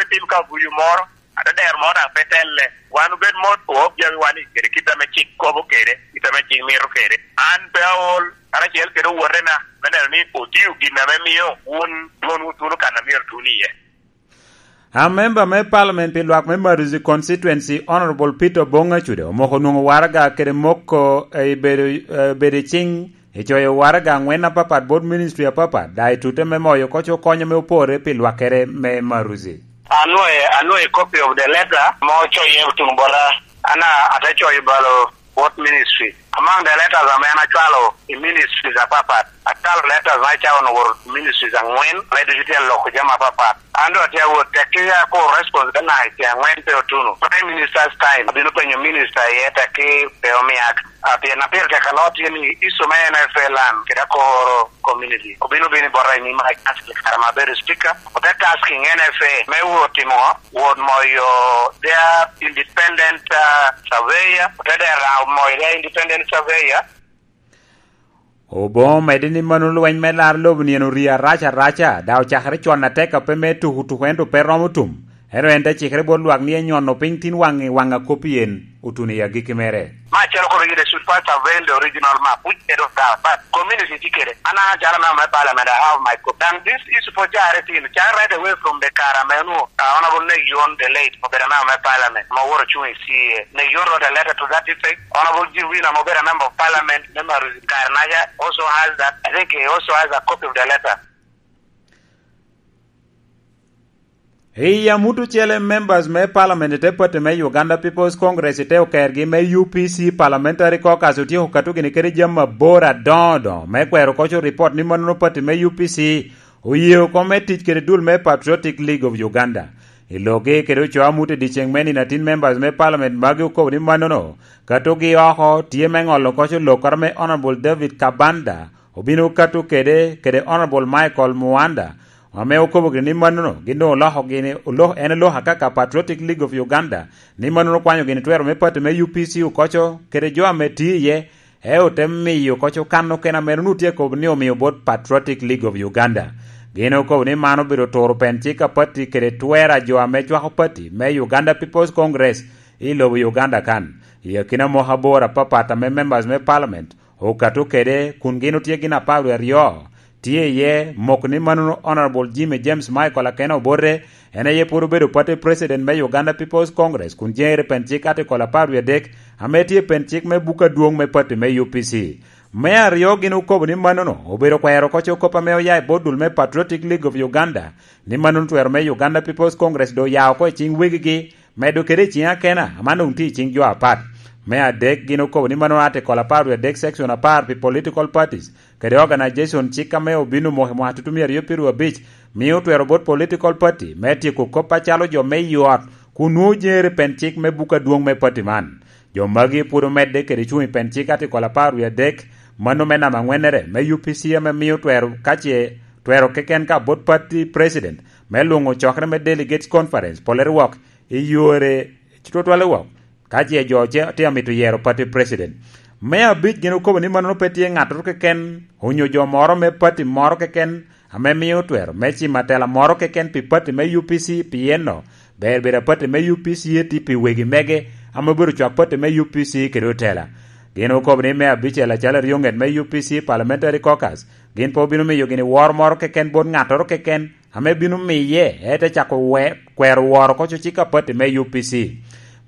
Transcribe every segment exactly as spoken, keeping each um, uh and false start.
Tim ka guyo moro, ate dero moro daŋ pe telle. Wan obed mot, oop jami wan i kede kit ame cik kobo kede, kit ame cik mito kede. An pe aol, karacel kede owotena, me neno ni otio gin ame mio wun dwonwu tuno kan a myero tun iye. A memba me Parliament pi lwak me Maruzi Constituency, Honorable Peter Obong Acude, omoko nwoŋo waraga kede moko, eh, i bedo, eh, bedo i cing i coyo waraga aŋwen apapat bot ministry apapat, daŋ i tute me moyo koc okony ame oporre pi lwakkere me Maruzi. Anwoŋo, anwoŋo copy of the letter ma ocoye tuŋ bota. An a-, ate coyo balo bot ministry. Among the letters ame an acwalo i ministries apapat, acwalo letters me cawa onwoŋo ministries aŋwen, me ducu tye loko jami apapat. An doŋ atye awot, tekki ako response me naka i tye aŋwen pe otuno. Prime Minister's time, abino penyo minister iye, tekki pe omiak. Ah, pien na pire tek aloo tye ni issue me N F A land kede akoro community. Obino bino i bota i nyima i council kare ma abedo speaker. Ote tasking N F A me wot timo, wot moyo their independent, ah, surveyor. Ote dera moyo their independent surveyor. Obong omedde ni mano lweny me laro lobo-ni en orii arac araca, daŋ ocakere con atek a pe me tuko tuko ento pe romo tum. Ento en te cikere bot lwak ni enyono piny tin waŋ i waŋ a kop i en otuno i agikki mere. Ma acalo kono yede should first avail the original map, which they don't have, but community tye kede. An acalo member me parliament, I have my copy. Daŋ this issue pwod carre tin, carre right away from the kare ame onwoŋo, uh, Honorable Neg Yuon the late, obedo member me parliament, ma owoto ocuŋ i C A. Neg Yuon wrote a letter to that effect. Honorable Jim Wina, ma obedo a member of parliament, member of Karnaja, also has that. I think he also has a copy of the letter. I amut ocele, members me parliament i te party me Uganda People's Congress i te okergi me U P C Parliamentary Caucus otyeko kato gini kede jami abor adoŋo doŋo me kwero koco report ni manono party me U P C oye oko me tic kede dul me Patriotic League of Uganda. I lokgi kede ocoo amut i dyeceŋ me nino atin, members me parliament magi okobo ni manono katogi oko tye me ŋolo koco lok kara me Honorable David Kabanda obino kato kede, kede Honorable Michael Muanda, ame okobo gini ni manono gin doŋ oloko gini, olok-, en oloko akaka Patriotic League of Uganda, ni manono okwanyo gini twero me party me U P C okoco kede jo ame tye iye, e ote miyo koco kan okene ame onwoŋo tye kobo ni omio bot Patriotic League of Uganda. Gin okobo ni man obedo turo pen cik a party kede twero a jo ame cwako party me Uganda People's Congress i lobo Uganda kan. I akina moko abor apapat ame members me parliament okato kede kun gin otye gin apar wie aryo, tye iye mok ni manono Honorable Jimmy James Michael Akena Obote, en aye pwod obedo party president me Uganda People's Congress kun jeŋere pen cik article apar wie adek, ame tye pen cik me buk adwoŋ me party me U P C. Me aryo gin okobo ni manono obedo kwero koco kop ame oya i bot dul me Patriotic League of Uganda, ni manono twero me Uganda People's Congress doŋ oya oko i ciŋ wegigi, medo kede i ciŋ akena, aman doŋ tye i ciŋ jo apat. Me adek, gin okobo ni mano article apar wie adek section apar pi political parties kede organization cik ame obino moko i mwaka tutumia aryo pyeraryo abic, mio twero bot political party me tyeko kop acalo jo me i ot, kun nwoŋo jeŋere pen cik me buk adwoŋ me party man. Jo magi pwod omedde kede cuŋ i pen cik article apar wie adek, mano me namba aŋwennere me U P C ame mio twero, ka ce twero keken ka bot party president me luŋo cokere me delegates conference, polere wok i yore tutwalle wok, ka ce jo ce tye amito yero party president. Me abic gin okobo ni manono pe tye ŋattoro keken onyo jo moro me party moro keken ame mio twero me cimo atela moro keken pi party me U P C, pien no ber bedo a party me U P C eti pi wegi mege ame obedo cwak party me U P C kede otela. Gin okobo ni me abicel acalo aryoŋet me U P C Parliamentary Caucus gin pe obino miyo gini woro moro keken bot ŋattoro keken, ame bino miye, ete cako we-, kwero woro koco cik a party me U P C.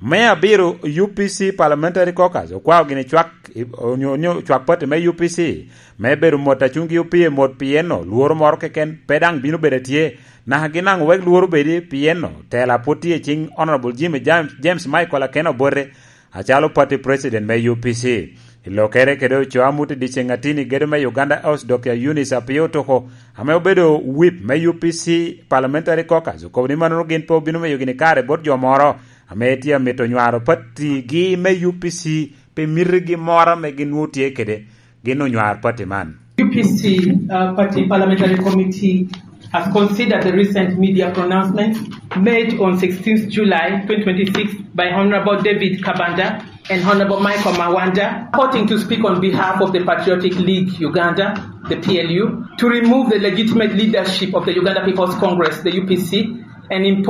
Me abiro, U P C Parliamentary Caucus okwao gini cwak, onyo, onyo cwak party me U P C, me bedo mot a cuŋgi opye mot, pien no lworo moro keken pe daŋ bino bedo atye, naka gin daŋ owek lworo bedi, pien no tela pwod tye i ciŋ Honorable Jimmy James, James Michael Akena Obote, acalo party president me U P C. I lokere kede ocoo amut i dyeceŋ atin i gedo me Uganda House, Doctor Eunice Apio Otoko, ame obedo whip me U P C Parliamentary Caucus, okobo ni manono gin pe obino miyo gini kare bot jo moro ame tye amito nywaro party gi me U P C pi mitigi moro ame gin nwoŋo tye kede. Gin onywar party man. U P C, uh, Party Parliamentary Committee has considered the recent media pronouncements made on sixteenth July twenty twenty-six by Honorable David Kabanda and Honorable Michael Mawanda, purporting to speak on behalf of the Patriotic League Uganda, the P L U, to remove the legitimate leadership of the Uganda People's Congress, the U P C, and impose